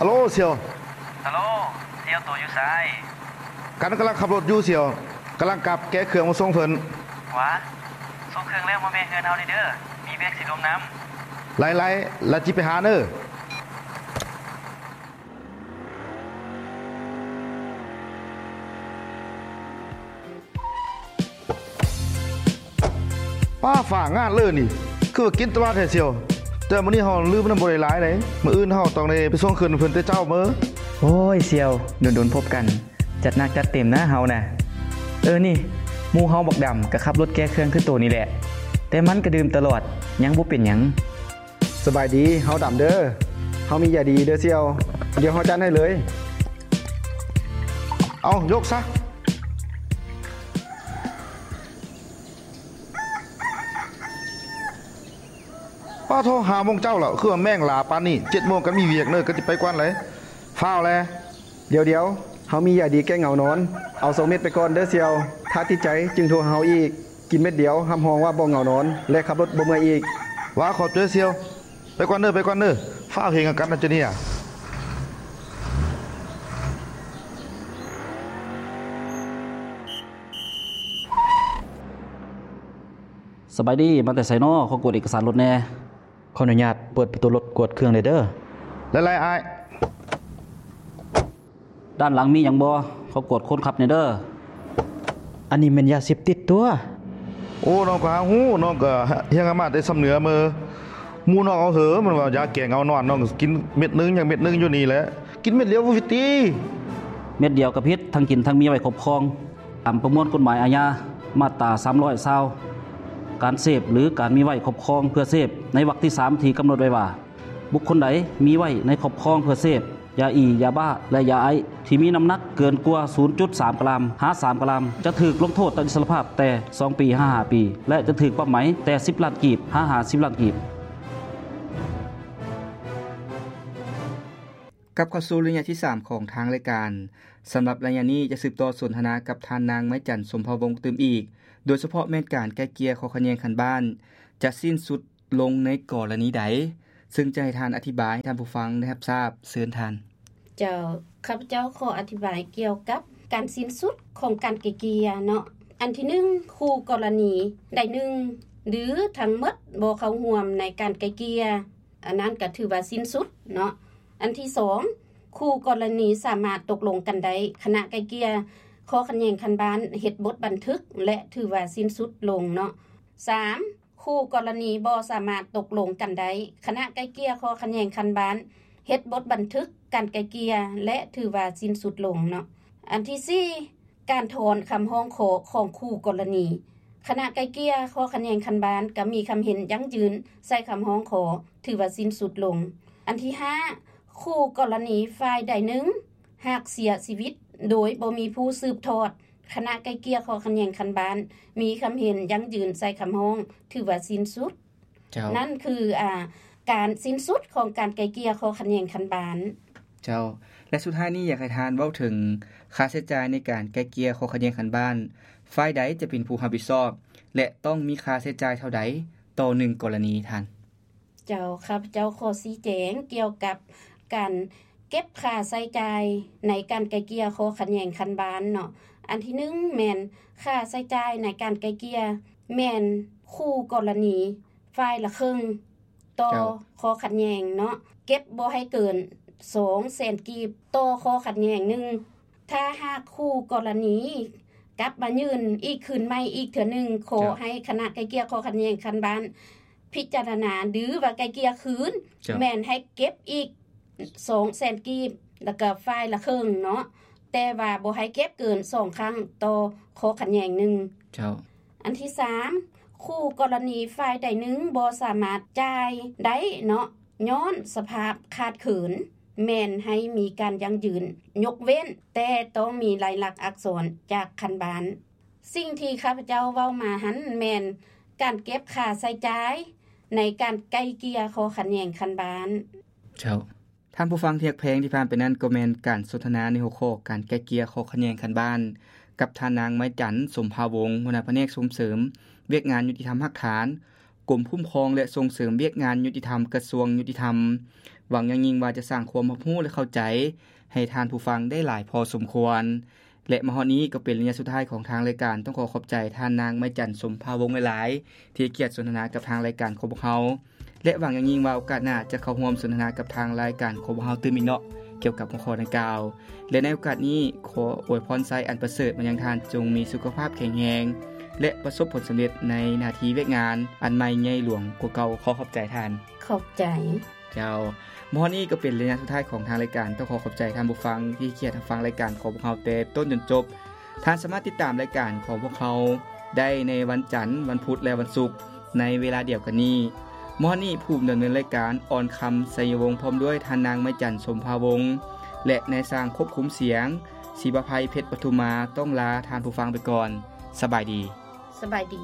ຮັລໂຫຼ ສ່ຽວ. ຮັລໂຫຼ ສ່ຽວ ໂຕຢູ່ໃສ? ກັນກຳລັງຂັບລົດຢູ່ສ່ຽວ, ກຳລັງກັບແກະເຄື່ອງມາສົ່ງເພິ່ນ. ຫວາ ສົ່ງເຄື່ອງແລ້ວມາແວ່ເຮືອນເຮົາແດ່ເດີ, ມີວຽກຊິລວມນຳ. ໄລ່ໆ ລະຈິໄປຫາເດີ. ປ້າ ຟ້າງາດເລີນີ້ ຄືວ່າກິນຕະຫຼາດແທ້ສ່ຽວ. ແຕ່ມື້ນີ້ເຮົາລືມນຳບໍ່ໄດ້ຫຼາຍໃດ, ມື້ອື່ນເຮົາຕ້ອງໄດ້ໄປສົ່ງຄືນເພິ່ນແຕ່ເຊົ້າເມີ. ໂອ້ຍ ສ່ຽວ ດົນໆພົບກັນ, ຈັດໜັກຈັດເຕັມນະເຮົານະ. ເອີ ນີ້ ໝູ່ເຮົາບັກດຳກໍຂັບລົດແກ່ເຄື່ອງຄືໂຕນີ້ແຫຼະ, ແຕ່ມັນກໍດື່ມຕະຫຼອດ, ຍັງບໍ່ເປັນຫຍັງ. ສະບາຍດີ, ເຮົາດຳເດີ. ເຮົາມີຢາດີເດີສ່ຽວ, ດຽວເຮົາຈັດໃຫ້ເລີຍ. ເອົາ ຍົກຊະ. ປ້າໂທ ຫ້າໂມງເຊົ້າແລ້ວ, ຄືວ່າແມ່ງຫຼາປານນີ້, ເຈັດໂມງກໍມີວຽກເນີ, ກໍຊິໄປກ່ອນເລີຍ. ຟ້າວແລ. ດຽວໆ, ເຮົາມີຢາດີແກ້ເຫງົານອນ. ເອົາສອງເມັດໄປກ່ອນເດີສ່ຽວ, ຖ້າຕິດໃຈຈຶ່ງໂທຫາເຮົາອີກ. ກິນເມັດດຽວ ຮັບຮອງວ່າບໍ່ເຫງົານອນ ແລະ ຂັບລົດບໍ່ເມື່ອຍອີກ. ຫວາ ຂອບໃຈສ່ຽວ. ໄປກ່ອນເດີ, ໄປກ່ອນເດີ. ຟ້າວເຮັດຫຍັງກັນນະເຈົ້ານີ້. ສະບາຍດີ, ມາແຕ່ໃສນໍ? ຂໍກວດເອກະສານລົດແດ່. ຂໍອະນຸຍາດເປີດປະຕູລົດກວດເຄື່ອງແດ່ເດີ. ຫຼາຍໆ ອ້າຍ. ດ້ານຫຼັງມີຫຍັງບໍ່? ຂໍກວດຄົນຂັບແດ່ເດີ. ອັນນີ້ແມ່ນຢາເສບຕິດຕົວະ. ໂອ້ ນ້ອງກໍຫາຮູ້, ນ້ອງກໍຮຽນມາແຕ່ຊຳເໜືອເມີ. ໝູ່ນ້ອງເອົາເຫີ ມັນວ່າຢາແກ້ເຫງົານອນ, ນ້ອງກໍກິນເມັດໜຶ່ງ ຍັງເມັດໜຶ່ງຢູ່ນີ້ແຫຼະ. ກິນເມັດດຽວບໍ່ຜິດຕິ? ເມັດດຽວກໍຜິດ, ທັງກິນທັງມີໄວ້ຄອບຄອງ. ຕາມປະມວນກົດໝາຍອາຍາ ມາດຕາສາມຮ້ອຍຊາວ ການເສບ ຫຼື ການມີໄວ້ຄອບຄອງເພື່ອເສບ ໃນວັກທີສາມ ທີ່ກຳນົດໄວ້ວ່າ ບຸກຄົນໃດມີໄວ້ໃນຄອບຄອງເພື່ອເສບ ຢາອີ, ຢາບ້າ ແລະ ຢາໄອສ໌ ທີ່ມີນ້ຳໜັກເກີນກວ່າ ສູນຈຸດສາມກຣາມ ຫາ ສາມກຣາມ ຈະຖືກລົງໂທດຕັດອິດສະລະພາບແຕ່ສອງປີ ຫາ ຫ້າປີ ແລະ ຈະຖືກປັບໃໝແຕ່ສິບລ້ານກີບ ຫາ ຫ້າສິບລ້ານກີບ. ກັບເຂົ້າສູ່ໄລຍະທີສາມຂອງທາງລາຍການ. ສຳລັບໄລຍະນີ້ຈະສືບຕໍ່ສົນທະນາກັບທ່ານນາງ ໄມ້ຈັນ ສົມພາວົງ ຕື່ມອີກ, ໂດຍສະເພາະແມ່ນການໄກ່ເກ່ຍຂໍ້ຂັດແຍ່ງຂັ້ນບ້ານ ຈະສິ້ນສຸດລົງໃນກໍລະນີໃດ, ເຊິ່ງຈະໃຫ້ທ່ານອະທິບາຍໃຫ້ທ່ານຜູ້ຟັງໄດ້ຮັບຊາບ. ເຊີນທ່ານ. ເຈົ້າ, ຂ້າພະເຈົ້າຂໍອະທິບາຍກ່ຽວກັບການສິ້ນສຸດຂອງການໄກ່ເກ່ຍເນາະ. ອັນທີໜຶ່ງ, ຄູ່ກໍລະນີໃດໜຶ່ງ ຫຼື ທັງໝົດບໍ່ເຂົ້າຮ່ວມໃນການໄກ່ເກ່ຍ, ອັນນັ້ນກໍຖືວ່າສິ້ນສຸດເນາະ. ອັນທີສອງ, ຄູ່ກໍລະນີສາມາດຕົກລົງກັນໄດ້, ຄະນະໄກ່ເກ່ຍຂໍ້ຂັດແຍ່ງຂັ້ນບ້ານເຮັດບົດບັນທຶກ ແລະ ຖືວ່າສິ້ນສຸດລົງເນາະ. ສາມ, ຄູ່ກໍລະນີບໍ່ສາມາດຕົກລົງກັນໄດ້, ຄະນະໄກ່ເກ່ຍຂໍ້ຂັດແຍ່ງຂັ້ນບ້ານເຮັດບົດບັນທຶກການໄກ່ເກ່ຍ ແລະ ຖືວ່າສິ້ນສຸດລົງເນາະ. ອັນທີສີ່, ການຖອນຄຳຮ້ອງຂໍຂອງຄູ່ກໍລະນີ, ຄະນະໄກ່ເກ່ຍຂໍ້ຂັດແຍ່ງຂັ້ນບ້ານກໍມີຄຳເຫັນຢັ້ງຢືນໃສ່ຄຳຮ້ອງຂໍ ຖືວ່າສິ້ນສຸດລົງ. ອັນທີຫ້າ, ຄູ່ກໍລະນີຝ່າຍໃດໜຶ່ງຫາກເສຍຊີວິດໂດຍບໍ່ມີຜູ້ສືບທອດ, ຄະນະໄກ່ເກ່ຍຂໍ້ຂັດແຍ່ງຂັ້ນບ້ານມີຄຳເຫັນຢັ້ງຢືນໃສ່ຄຳຮ້ອງ ຖືວ່າສິ້ນສຸດ. ເຈົ້າ. ນັ້ນຄື ອາ ການສິ້ນສຸດຂອງການໄກ່ເກ່ຍຂໍ້ຂັດແຍ່ງຂັ້ນບ້ານ. ເຈົ້າ. ແລະ ສຸດທ້າຍນີ້ຢາກໃຫ້ທ່ານເວົ້າເຖິງຄ່າໃຊ້ຈ່າຍໃນການໄກ່ເກ່ຍຂໍ້ຂັດແຍ່ງຂັ້ນບ້ານ, ຝ່າຍໃດຈະເປັນຜູ້ຮັບຜິດຊອບ ແລະ ຕ້ອງມີຄ່າໃຊ້ຈ່າຍເທົ່າໃດຕໍ່ໜຶ່ງກໍລະນີທ່ານ? ເຈົ້າ, ຂ້າພະເຈົ້າຂໍຊີ້ແຈງກ່ຽວກັບການເກັບຄ່າໃຊ້ຈ່າຍໃນການໄກ່ເກ່ຍຂໍ້ຂັດແຍ່ງຂັ້ນບ້ານເນາະ. ອັນທີໜຶ່ງ ແມ່ນຄ່າໃຊ້ຈ່າຍໃນການໄກ່ເກ່ຍ ແມ່ນຄູ່ກໍລະນີ ຝ່າຍລະເຄິ່ງຕໍ່ ເຈົ້າ ຂໍ້ຂັດແຍ່ງເນາະ, ເກັບບໍ່ໃຫ້ເກີນສອງແສນກີບຕໍ່ຂໍ້ຂັດແຍ່ງໜຶ່ງ. ຖ້າຫາກຄູ່ກໍລະນີກັບມາຍື່ນອີກຄືນໃໝ່ອີກເທື່ອໜຶ່ງ, ຂໍ ເຈົ້າ ໃຫ້ຄະນະໄກ່ເກ່ຍຂໍ້ຂັດແຍ່ງຂັ້ນບ້ານພິຈາລະນາ ຫຼືວ່າໄກ່ເກ່ຍຄືນ, ເຈົ້າ ແມ່ນໃຫ້ເກັບອີກສອງແສນກີບ ແລ້ວກໍຝ່າຍລະເຄິ່ງເນາະ, ແຕ່ວ່າບໍ່ໃຫ້ເກັບເກີນສອງຄັ້ງຕໍ່ຂໍ້ຂັດແຍ່ງໜຶ່ງ. ເຈົ້າ. ອັນທີສາມ, ຄູ່ກໍລະນີຝ່າຍໃດໜຶ່ງບໍ່ສາມາດຈ່າຍໄດ້ເນາະ ຍ້ອນສະພາບຂາດເຂີນ, ແມ່ນໃຫ້ມີການຢັ້ງຢືນຍົກເວັ້ນ, ແຕ່ຕ້ອງມີລາຍລັກອັກສອນຈາກຂັ້ນບ້ານ. ສິ່ງທີ່ຂ້າພະເຈົ້າເວົ້າມາຫັ້ນ ແມ່ນການເກັບຄ່າໃຊ້ຈ່າຍໃນການໄກ່ເກ່ຍຂໍ້ຂັດແຍ່ງຂັ້ນບ້ານ. ເຈົ້າ. ທ່ານຜູ້ຟັງທີ່ຮັກແພງ, ທີ່ຜ່ານໄປນັ້ນກໍແມ່ນການສົນທະນາໃນຫົວຂໍ້ການໄກ່ເກ່ຍຂໍ້ຂັດແຍ່ງຂັ້ນບ້ານ ກັບທ່ານນາງ ໄມ້ຈັນ ສົມພາວົງ ຫົວໜ້າພະແນກສົ່ງເສີມວຽກງານຍຸຕິທຳຮາກຖານ ກົມຄຸ້ມຄອງ ແລະ ສົ່ງເສີມວຽກງານຍຸຕິທຳ ກະຊວງຍຸຕິທຳ. ຫວັງຢ່າງຍິ່ງວ່າຈະສ້າງຄວາມຮັບຮູ້ ແລະ ເຂົ້າໃຈໃຫ້ທ່ານຜູ້ຟັງໄດ້ຫຼາຍພໍສົມຄວນ. ແລະ ມາຮອດນີ້ກໍເປັນໄລຍະສຸດທ້າຍຂອງທາງລາຍການ. ຕ້ອງຂໍຂອບໃຈທ່ານນາງ ໄມຈັນ ສົມພາວົງ ຫຼາຍໆ ທີ່ໃຫ້ກຽດສົນທະນາກັບທາງລາຍການຂອງພວກເຮົາ ແລະ ຫວັງຢ່າງຍິ່ງວ່າໂອກາດໜ້າຈະເຂົ້າຮ່ວມສົນທະນາກັບທາງລາຍການຂອງພວກເຮົາຕື່ມອີກເນາະ ກ່ຽວກັບຫົວຂໍ້ດັ່ງກ່າວ. ແລະ ໃນໂອກາດນີ້ ຂໍອວຍພອນໄຊອັນປະເສີດມາຍັງທ່ານ, ຈົ່ງມີສຸຂະພາບແຂງແຮງ ແລະ ປະສົບຜົນສຳເລັດໃນໜ້າທີ່ວຽກງານອັນໃໝ່ໃຫຍ່ຫຼວງກວ່າເກົ່າ. ຂໍຂອບໃຈທ່ານ. ຂອບໃຈ. ເຈົ້າ. ມາຮອດນີ້ກໍເປັນໄລຍະສຸດທ້າຍຂອງທາງລາຍການ. ຕ້ອງຂໍຂອບໃຈທ່ານຜູ້ຟັງທີ່ໃຫ້ກຽດຮັບຟັງລາຍການຂອງພວກເຮົາແຕ່ຕົ້ນຈົນຈົບ. ທ່ານສາມາດຕິດຕາມລາຍການຂອງພວກເຮົາໄດ້ໃນວັນຈັນ, ວັນພຸດ ແລະ ວັນສຸກ ໃນເວລາດຽວກັນນີ້. ມາຮອດນີ້ ຜູ້ດຳເນີນລາຍການ ອອນຄຳ ໄຊຍະວົງ ພ້ອມດ້ວຍທ່ານນາງ ໄມຈັນ ສົມພາວົງ ແລະ ນາຍຊ່າງຄວບຄຸມສຽງ ສີປະໄພ ເພັດປະທຸມມາ ຕ້ອງລາທ່ານຜູ້ຟັງໄປກ່ອນ. ສະບາຍດີ. ສະບາຍດີ.